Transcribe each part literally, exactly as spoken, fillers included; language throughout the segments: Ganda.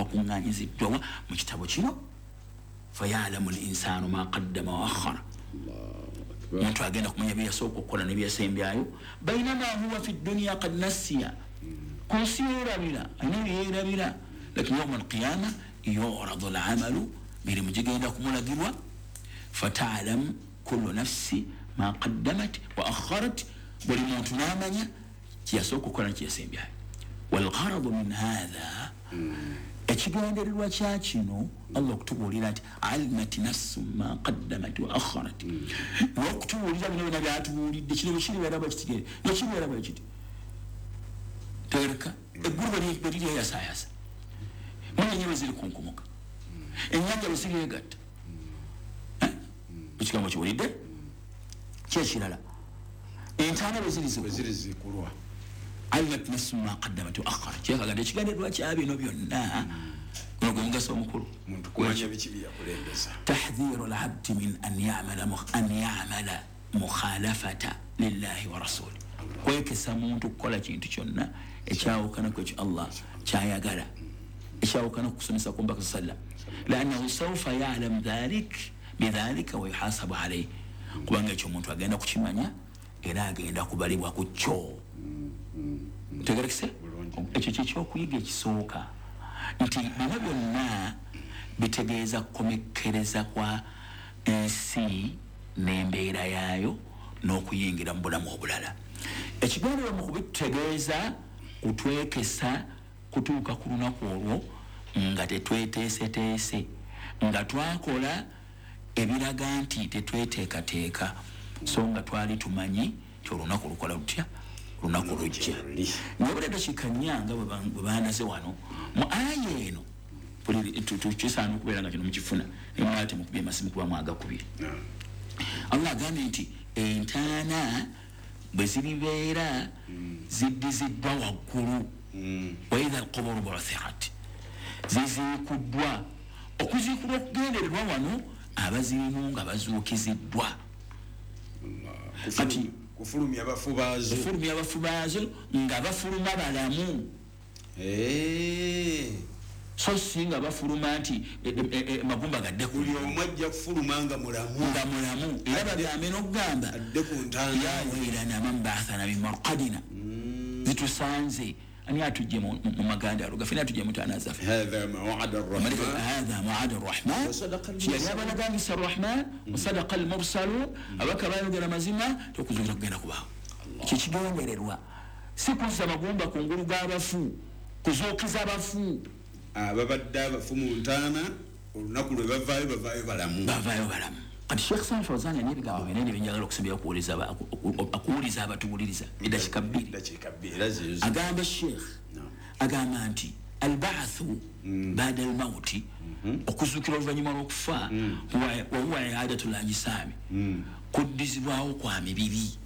Bakuŋŋaanyiziddwa mu kitabo kino. Fayalamu linsanu ma qaddama wa akhara, omuntu agenda kumanya byeyasooka okukola nebyeyasembyayo. Bainama huwa fi dduniya kad nasiya, ku nsi yeerabira, alina byeyeerabira. Lakini yauma alqiyama yuradu lamalu, mirimu gigenda kumulagirwa. Fatalamu kullu nafsi ma qaddamat wa akharat, buli muntu n'amanya kyeyasooka okukola nekyeyasembyayo. Walgharadu min hatha, ekigendererwa kya kino Allah okutubuulira nti alimat nafsu ma qaddamat wa akharat, n'okutubuulira bino byona byatubuulidde. Kino bwekiribeera bwekiti, nekibeera bwekiti, tegereka eggulu bwe liryeyasaayasa, munyenye bwe ziri kunkumuka, ennyanja bwe ziryegatta. Ekigambo kiwulidde kyekirala, entaana bwe zirizikulwa. Alimat nafsu ma qaddamat wa akharat, kyekaganda ekigendererwa kya bino byonna, guno gwe mugaso omukulu, tahdhiru labdi min an yamala mukhalafata lillahi wa rasuli, kwekesa muntu kukola kintu kyonna ekyawukana ku ekyo Allah kyayagala, ekyawukana ku kusomesa ku Mbaka sallam, liannahu saufa yalam dhalik bidhalika wa yuhasabu alaihi, kubanga ekyo omuntu agenda kukimanya era agenda kubalibwa ku kyo. Tegerekese ekyo kyekyokuyiga ekisooka, nti bino byonna bitegeeza kukomekkereza kwa ensi n'embeera yaayo n'okuyingira mu bulamu obulala. Ekigendererwa mu kubitutegeeza kutwekesa kutuuka ku lunaku olwo nga tetweteeseteese, nga twakola ebiraga nti tetweteekateeka, so nga twali tumanyi nti olunaku lukola lutya, olunaku lujja. Naye eddakiika nnya nga bwe bandaze wano mu aya eno, kisaana okubeera nga kino mukifuna, naye mwali temukubye masimu kuba mwagakubye. Allah agambye nti entaana bwe ziribeera ziddiziddwa waggulu, waidha alquburu bu'thirat, ziziikuddwa. Okuziikulwa okugendererwa wano abazirimu nga bazuukiziddwa, kati kufulumya abafu baazo, kufulumya abafu baazo nga bafuluma balamu, so si nga bafuluma nti magumba gadde buli omu ajja kufuluma nga mulamu, nga mulamu. Era bagambe n'okugamba adde ku ntaana, ya wailana man ba'athana min marqadina, zitusanze ani atujje mu maganda alo gaffe, atujje mu ntaana zaffe. Hadha maw'ad ar-rahman, hadha maw'ad ar-rahman, yali abalagangisa ar-rahman wa sadaqa al-mursalun, abaka bayogera mazima tokuzuukira kugenda kubaawo. Kyekigendererwa si kuzza magumba ku ngulu g'abafu, kuzuukiza abafu ababadde abafu mu ntaana, olunaku lwe bavaayo bavaayo balamu, bavaayo balamu. Kati Sheikh Saleh Fawzan alina ebigambo binene byenjagala okusembera okuwuliza abatuwuliriza eddakiika bbiri. Agamba Sheikh, agamba nti albaathu baada almauti, okuzuukira oluvannyuma lw'okufa, wahuwa iadatu lajisaami, kuddizibwawo kwa mibiri.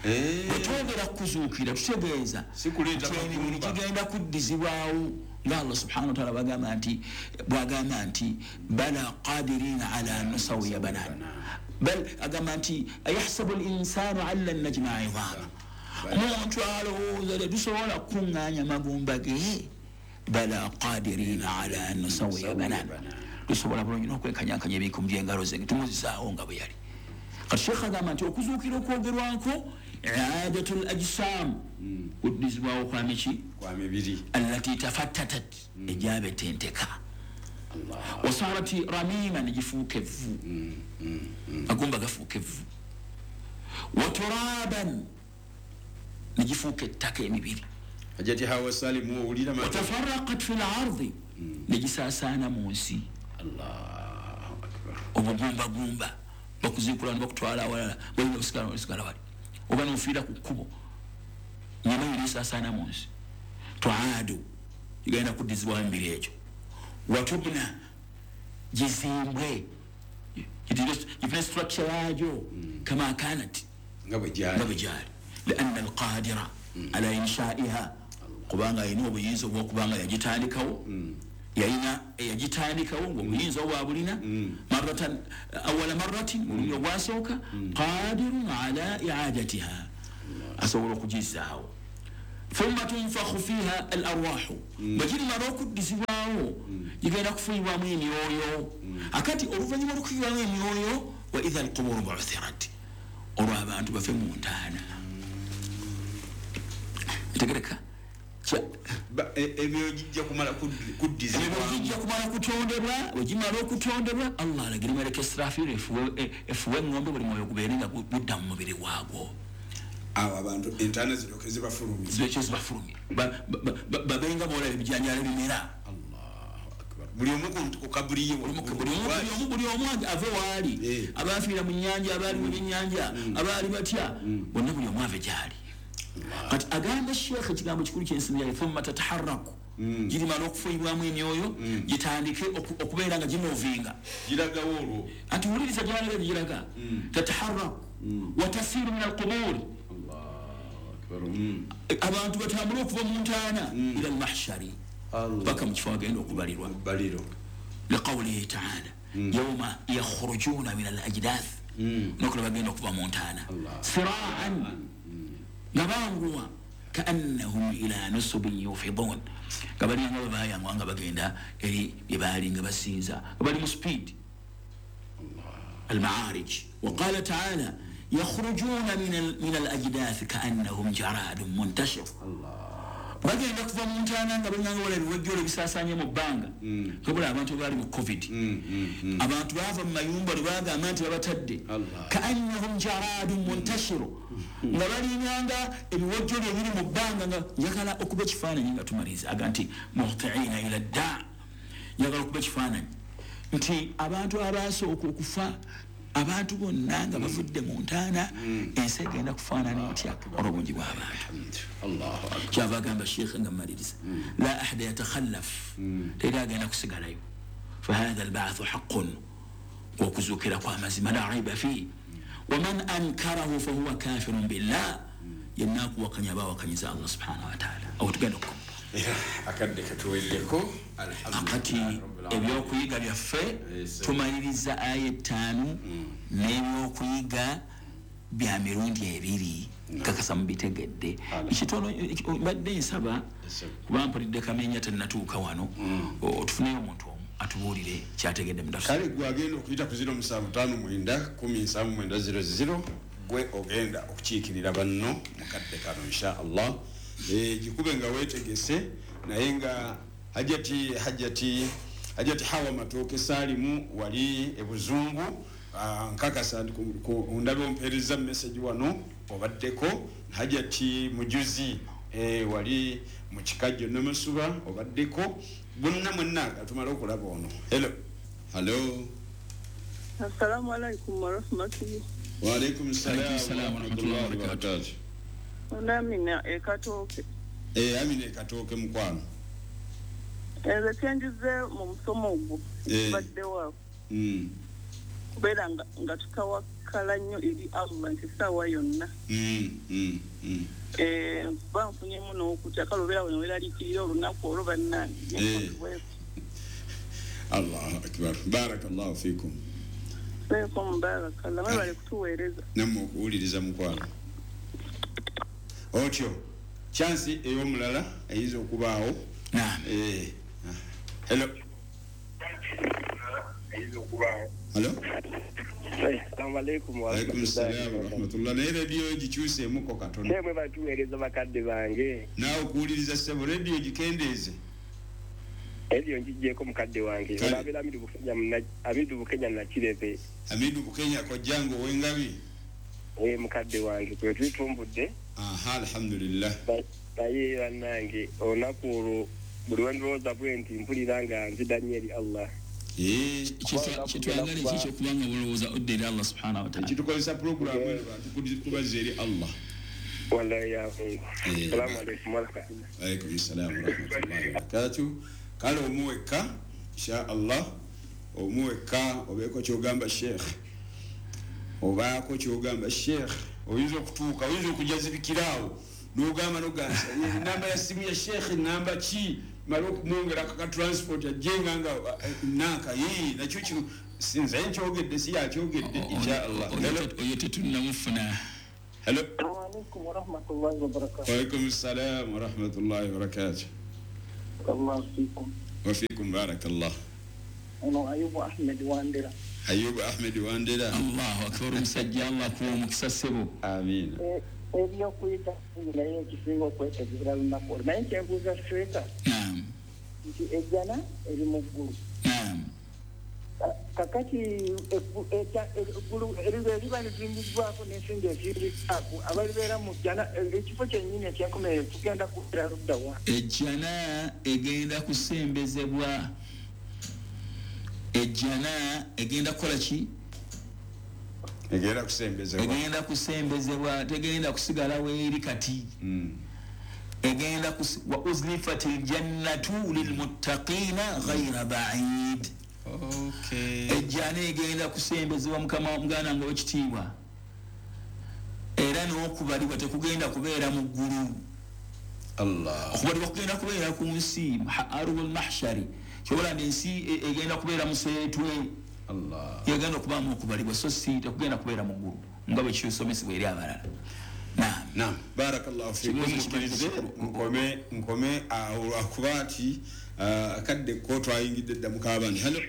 Bwe twogera kuzuukira tutegeeza emibiri gigenda kuddizibwawo, nga Allah subhanahu wa ta'ala bagamba nti bwagamba nti bala qadirina ala nusawiya banan, bal agamba nti ayahsabu linsanu an lan najmaa idhama, omuntu alowooza tetusobola kukuŋŋaanya magumba ge. Bala qadirina ala nusawiya banan, tusobola bulungi n'okwenkanyankanya ebinkumu by'engalo ze tumuzizaawo nga bwe yali. Kati Sheikh agamba nti okuzuukira okwogerwako iadatu l ajsam, kuddizibwawo kwa miki, kwa mibiri, allati tafattatat, egyabetenteka, wasarat ramima, negifuuka evvu, agumba gafuuka evvu, waturaban, negifuuka ettaka emibiri, Hajati Hawa Salim owulira, watafaraqat fi lardi, negisaasaana mu nsi. Allahu akbar. Obugumbagumba bakuziikula ne bakutwala awalala, balina osigala osigala wali, oba nofiira ku kkubo, nyama yonna esaasaana mu nsi. Twaadu, gigenda kuddizibwawo emibiri egyo. Watubna, gizimbwe gifune structure yaagyo kama kanat, nga bwe gyali, nga bwe gyali. Lianna alqadira ala inshaiha, kubanga alina obuyinza obwokubanga yagitandikawo, yalina yagitandikawo ngaobuyinza obwa bulina maratan awala marratin, mulundi ogwasooka, qadirun ala iadatiha, asobola okugizaawo. Thumma tunfakhu fiha al arwahu, bwe kirimala okuddizibwawo Gigenda kufuuyibwamu emyoyo. Akati oluvannyuma lw'okufuuyibwamu emyoyo, wa idha alquburu bu'thirat, olwo abantu bafe mu ntaana. Tegereka emyoyo gijja kumala kuddizibwa, gijja kumala kutondebwa. Bwe gimala okutondebwa, Allah alagira malaka Israfil efuwe eng'ombe, buli mwoyo gubeere nga gudda mu mubiri gwagwo. Awo abantu entaana ziryoke zibafulumye, ziryoke zibafulumye, babenga boolaba ebijanjaalo ebimera. Buli omu ku kaburi ye, buli omu ave waali, abafiira mu nnyanja, abaali mu byennyanja, abaali batya, bonna buli omu ave gy'ali. Kati agamba Sheikh ekigambo kikulu kyensimbi, thumma tataharraku, girimala okufuuyibwamu emyoyo gitandike okubeera nga gimovinga, giragawo olwo. Anti wuliriza gyalaga giraga, tataharraku watasiiru min alquburi, abantu batambule okuva mu ntaana ila almahshari, paka mu kifo agenda okubalirwa. Liqawlihi taala yauma yakhrujuna min al ajdath, nokola bagenda okuva mu ntaana siraan, nga banguwa, kaannahum ila nusubin yufidun, nga balinga babayangwa nga bagenda eri bye baali nga basinza, nga bali mu speed. Almaarij. Waqala taala yakhrujuna min al ajdath kaannahum jaradun muntashir, bagenda kuva mu ntaana nga balinganga wala ebiwejjolo ebisaasaanye mu bbanga. Kabula abantu baali mu covid, abantu baava mu mayumba lwe bagamba nti babatadde, kaannahum jaradun muntashiru, nga balinganga ebiwejjolo ebiri mu bbanga. Nga njagala okuba ekifaananyi nga tumaliriza, aga nti muhtiina ila ddaa, njagala okuba ekifaananyi nti abantu abaasooka okufa, abantu bonna nga bavudde mu ntaana, ensi egenda kufaanana etya olw'obungi bw'abantu. Kyava agamba Sheikh nga mmaliriza, la ahada yatakhallaf, teri agenda kusigalayo. Fahatha albaathu haqqun, okuzuukira kw'amazima, la raiba fihi, waman ankarahu fahuwa kafirun billah, yenna akuwakanya aba awakanyiza Allah subhanahu wataala. Awo tugenda okukoma akadde katuweddeko. Akati ebyokuyiga byaffe tumaliriza aya ettaano n'ebyokuyiga bya mirundi ebiri, kakasa mubitegedde. Ekitono mbadde nsaba, kuba mpulidde Kamenya tennatuuka wano, tufuneyo omuntu omu atubuulire kyategedde mu tafsiri. Kale gwe agenda okuyita ku ziro musanvu ttaano mwenda kumi nsanvu mwenda ziro ziro, gwe ogenda okukiikirira banno mu kadde kano insha Allah. Gikube nga weetegese, naye nga Hajati Hajati Hajati Hawa Matooke Saalimu wali ebuzungu, nkakasa ndabe ompeereza message wano obaddeko. Hajati Mujuzi wali mu Kikajjo Namasuba obaddeko. Bonna mwenna katumale okulaba ono. Hello. Hello. Assalamu alaikum warahmatullahi. Wa alaikum salam wa rahmatullahi wa barakatuh. Amina ekatooke. Eh, Amina ekatooke mukwano. Nze kyenjize mu musomo ogwo badde waawo, kubeera nga tutawakala nnyo eri Allah nti essaawa yonna kuba nfunyemu n'okutya, kale obeera wano weeraliikirira olunaku olwo bannange. Allahu akbar, barakallahu fikum. Fikum barakallah, mwebale kutuweereza nammwe okuwuliriza mukwano. Otyo chansi ey'omulala eyinza okubaawo. Naam. Eh. Hello. Hello. Assalamu alaikum wa rahmatullahi wa barakatuh. Naye radio gikyuseemuko katono. Mwe batuweereza bakadde bange. Naawe okuwuliriza ssebo, radio gikendeeze. Radio ngiggyeko mukadde wange. Olabira Amidu Bukenya, Amidu Bukenya Nakirebe. Amidu Bukenya kojjange ow'engabi. Eh, mukadde wange kwe tutumbudde. Aha, alhamdulillah. Naye bannange olunaku olwo buli lwe ndowooza bwe nti mpulira nga nzida nnyo eri Allah. Kyetwagala ekyo kubanga bulowooza odda eri Allah subhanahu wa ta'ala. Ekitukozesa pulogulaamu eno bantu kubazza eri Allah. Wallahi ya Mungu. Assalamu alaikum wa rahmatullahi. Alaikum salam wa rahmatullahi wa barakatuh. Kale omu wekka insha Allah, omu wekka obeeko kyogamba Sheikh, obaako kyogamba Sheikh, oyinza okutuuka, oyinza okujazibikiraawo n'ogamba n'ogamba namba ya simu ya Sheikh namba ki, mala okumwongera ka transport ajjenga nga nanka yii nakyo kino sinze nkyogedde si yakyogedde insha Allah. Oyo tetunnamufuna. Hello. Assalamu alaikum wa rahmatullahi wa barakatuh. Wa alaikum salam wa rahmatullahi wa barakatuh. Allah fikum. Wa fikum barakallah. Ono Ayubu Ahmed Wandera. Ayubu Ahmed Wandera. Allahu akbar, musajja Allah kuwa omukisa ssebo. Amiina. Ebyokuyita naye ekisinga okwetegera lunaku olwo, naye nkyenbuuza Sheeka nti ejjana eri mu ggulu. Kakati eggulu eriba lizimbiddwako n'ensinga eziriddwako, abalibeera mu jjana ekifo kyennyini ekyenkomerero kigenda kubeera ludda wa? Ejjana egenda kusembezebwa. Ejjana egenda kukola ki? Egenda kusembezebwa. Egenda kusembezebwa, tegenda kusigala weeri kati. Egenda wa uzlifatil jannatu lilmuttaqina ghayra ba'id. Okay. Ejjana egenda kusembezebwa mukama muganda nga wekitiibwa, era n'okubalibwa tekugenda kubeera mu ggulu. Allah. Okubalibwa kugenda kubeera ku nsi, arul mahshari, kyobola nti ensi egenda kubeera museetwe. Allah. Yegenda okubaamu okubalibwa, so si tekugenda kubeera mu ggulu nga bwe kisomesebwa eri abalala. Naam. Naam. Barakallahu fikum. Mukkirize nkome nkome awo lwakuba nti akadde ko twayingidde dda mu kaabani. Hello.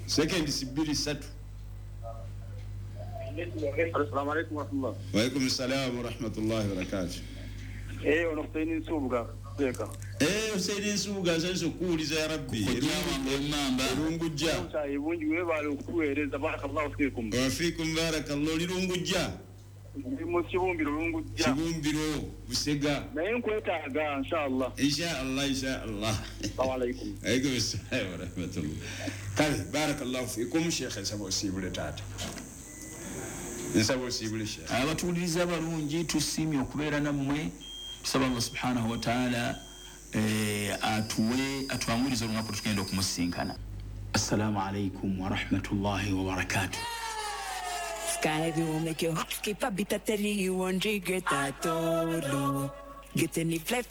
Second bbiri ssatu. Assalamu alaikum wa rahmatullah. Wa alaikum assalam wa rahmatullahi wa barakatuh. Eh, ono Hussein Nsubuga Sheeka. Eh, Hussein Nsubuga nsanze okuwuliza ya Rabbi. Erungujja. Ebungi weebale okutuweereza, barakallahu fikum. Wa fikum barakallahu. Lirungujja. Ndi mu Kibumbiro Lungujja. Kibumbiro Busega. Naye nkwetaaga inshallah. Inshallah, inshallah. Assalamu alaikum. Alaikum assalam wa rahmatullah. Kale barakallahu fikum Sheikh, nsaba osiibule taata. Nsaba osiibule Sheikh. Abatuwuliriza abalungi tusiimye okubeera nammwe. Tusaba Allah subhanahu wa ta'ala atuwe atwangurize olunaku tugenda okumusinkana. Assalamu alaikum wa rahmatullahi wa barakatuh. Sky will make your heart skip a beat at you won't regret at all. Get any flight.